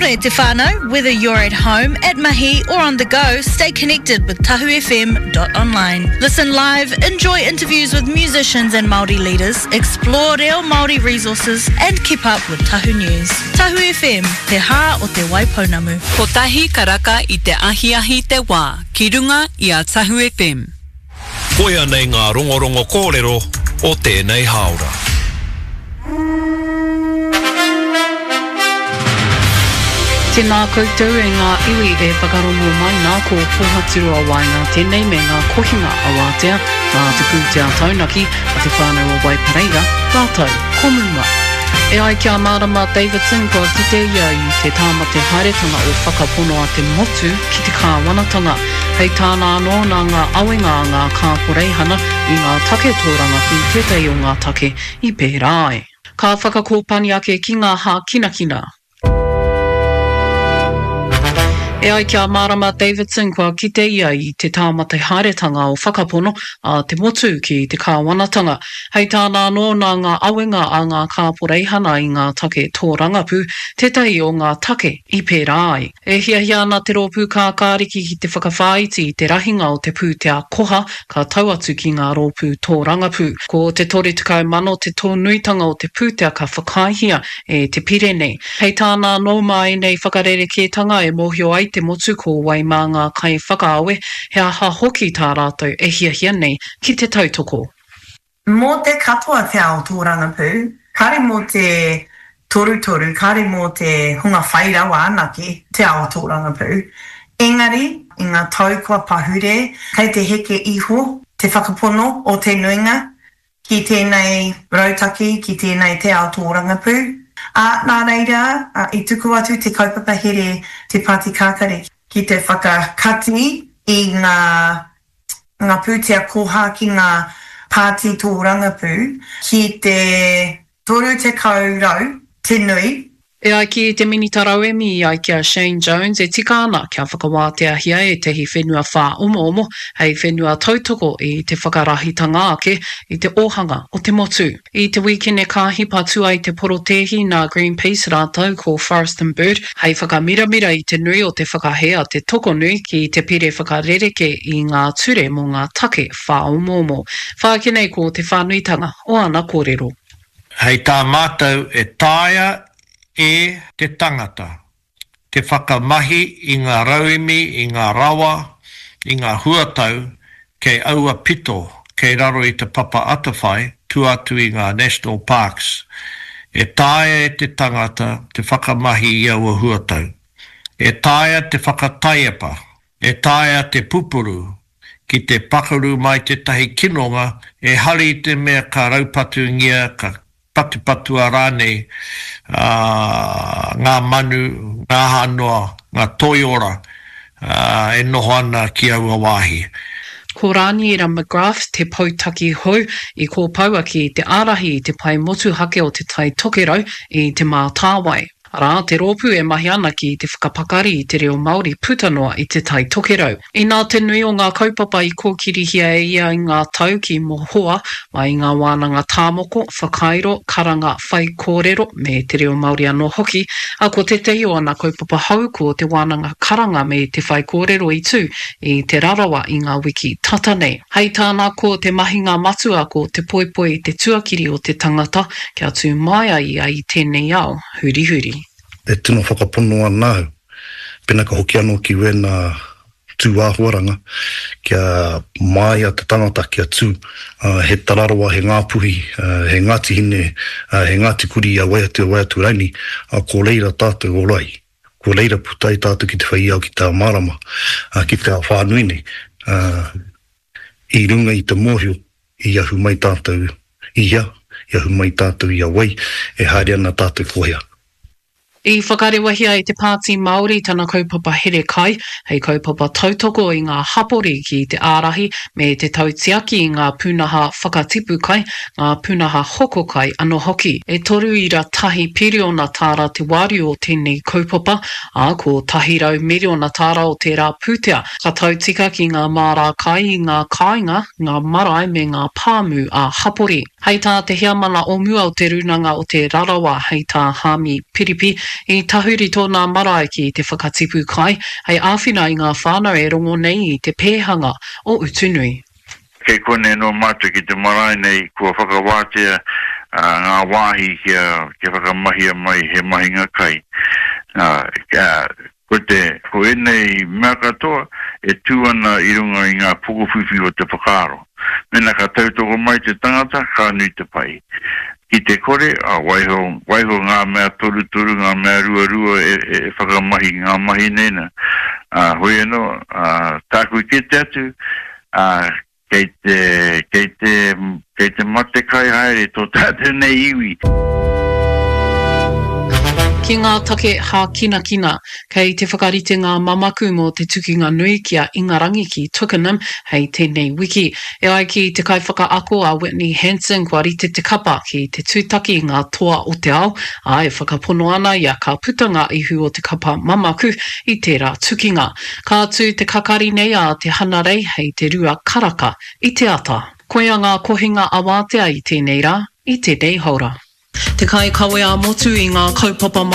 ora e te whānau, whether you're at home, at mahi or on the go, stay connected with tahufm.online. Listen live, enjoy interviews with musicians and Māori leaders, explore reo Māori resources and keep up with Tahu News. Tahu FM, te hā o te Waipounamu. Kotahi karaka i te ahiahi te wā ki runga i a Tahu FM. Koia nei ngā rongorongo kōrero o tēnei hāora. Tēnā koutou e ngā iwi e whakarongo mai nā ko Pōhaturoa Waenga tēnei me ngā kohinga awatea mā te pūtea taunaki a te whānau o Waipareira rātou ko Muma. E ai ki a Marama Davidson kua kite ia i te tāmate haeretanga o Whakapono a te Motu ki te kāwanatanga. Hei tāna anō, nā ngā awenga a ngā kāporeihana i ngā take tōrangapū tētahi o ngā take i pērā ai. Ka whakakōpani ake ki ngā hākinakina. E ai ki a Marama Davidson kua kite ia i te tāmate haeretanga o Whakapono a te motu ki te kāwanatanga. Hei tāna anō nā ngā awenga a ngā kāporeihana i ngā take tōrangapū tētahi o ngā take i pērā ai. E hiahia ana te Rōpū Kākāriki ki te whakawhāiti i te rahinga o te pūtea koha ka tau atu ki ngā rōpū tōrangapū. Ko te 30 mano te tōnuitanga o te pūtea ka whakaaehia e te pire nei. Hei tāna anō, mā ēnei whakarerekētanga e mōhio ai te motu ko wai mā ngā kaiwhakaawe, he aha hoki tā rātou e hiahia nei ki te tautoko. Mō te katoa te ao tōrangapū, kāre mō te torutoru, kāre mō te hunga whai rawa anake te ao tōrangapū. Engari, i ngā tau kua pahure, kei te heke iho te whakapono o te nuinga ki tēnei rautaki, ki tēnei te ao tōrangapū. Ā, nā reira, i tuku atu te kaupapa here Te Pāti Kākariki ki te whakakati i ngā ngā pūtea koha ki ngā pāti tōrangapū ki te 30 rau te nui. E ai ki te Minita Rauemi i ai ki a Shane Jones e tika ana kia whakawāteahia ētahi whenua whāomoomo hei whenua tautoko i te whakarahitanga ake i te ōhanga o te motu. I te wīkene ka hipa atu ai te porotēhi nā Greenpeace rātou ko Forest and Bird hei whakamiramira i te nui o te whakahē a te tokonui ki te pire whakarereke i ngā ture mō ngā take whāomoomo. Whāki nei ko te whānuitanga o ana kōrero. Hei tā mātou e taea e te tangata te whakamahi i ngā rauemi, i ngā rawa, i ngā huatau kei aua pito kei raro i Te Papa Atawhai, tua atu i ngā National Parks. E taea e te tangata te whakamahi i aua huatau. E taea te whakataiepa, e taea te pupuru, ki te pakaru mai tētahi kinonga, ehara i te mea ka raupatungia, ka patupatua rānei ngā manu, ngā aha noa, ngā toiora e noho ana ki aua wāhi. Ko Rāniera McGrath te poutaki hou i kōpaua ki te ārahi i te pae motuhake o Te Tai Tokerau i Te Mātāwai. Arā, te rōpū e mahi ana ki te whakapakari i te reo Māori puta noa i Te Tai Tokerau. Inā te nui o ngā kaupapa i kōkirihia e ia i ngā tau ki mohoa, mai i ngā wānanga tāmoko, whakairo, karanga, whaikōrero, me te reo Māori anō hoki, ā, ko tētahi o ana kaupapa hou ko te wānanga karanga me te whaikōrero i tū i Te Rarawa i ngā wiki tata nei. Hei tāna, ko te mahinga matua ko te poipoi i te tuakiri o te tangata kia tū māia ia i tēnei ao hurihuri. E tino whakapono ana au, pena ka hoki anō ki wēnā tūāhuaranga, kia māia te tangata kia tū, he Tararoa, he Ngāpuhi, he Ngāti Hine, he Ngāti Kurī, a wai atu, a wai atu raini, ko reira tātou ora ai. Ko reira puta ai tātou ki te whai ao ki te ao mārama, ki te ao whānui nei, i runga i te mōhio i ahu mai tātou i hea, i ahu mai tātou i a wai, e haere ana tātou ko hea. I whakarewahia e te Pāti Māori tana kaupapa here kai, hei kaupapa tautoko i ngā hapori ki te ārahi me te tautiaki i ngā pūnaha whakatipu kai, ngā pūnaha hoko kai anō hoki. E 3.1 piriona tāra te wāriu o tēnei kaupapa, ā, ko 100 miriona tāra o tērā pūtea ka tautika ki ngā mārā kai i ngā kāinga, ngā marae me ngā pāmu ā-hapori. Hei tā te heamana o mua o Te Rūnanga o Te Rarawa, hei tā Haami Piripi, I tahuri tōna marae ki te whakatipu kai hei āwhina i ngā whānau e rongo nei i te pēhanga o Utunui. Kei konei anō mātou ki te marae nei kua whakawātea ngā wāhi kia whakamahia mai he mahinga kai. Ko te, ko ēnei mea katoa e tū ana i runga i ngā pokowhiwhi o te whakaaro. Mēnā ka tautoko mai te tangata, ka nui te pai. Ki te kore, waiho, waiho ngā mea torutoru, ngā mea ruarua e, e whakamahi ngā mahi nei nā. Ā, hoi anō, ā, tāku i kite atu, ā, kei te, kei te, kei te matekai haere tō tātou nei iwi. Ki ngā take hākinakina, kei te whakarite ngā mamaku mō te tukinga nui ki a Ingarangi ki Twickenham hei tēnei wiki. E ai ki te kaiwhakaako a Whitney Hansen kua rite te kapa ki te tūtaki i ngā toa o te ao, ā, e whakapono ana ia ka puta ngā ihu o te kapa mamaku i tērā tukinga. Ka tū te kakari nei a te Hanarei hei te rua karaka i te ata. Koia ngā kohinga awātea i tēnei rā, i tēnei haora. Te kaikawe ā-motu i ngā kaupapa Māori.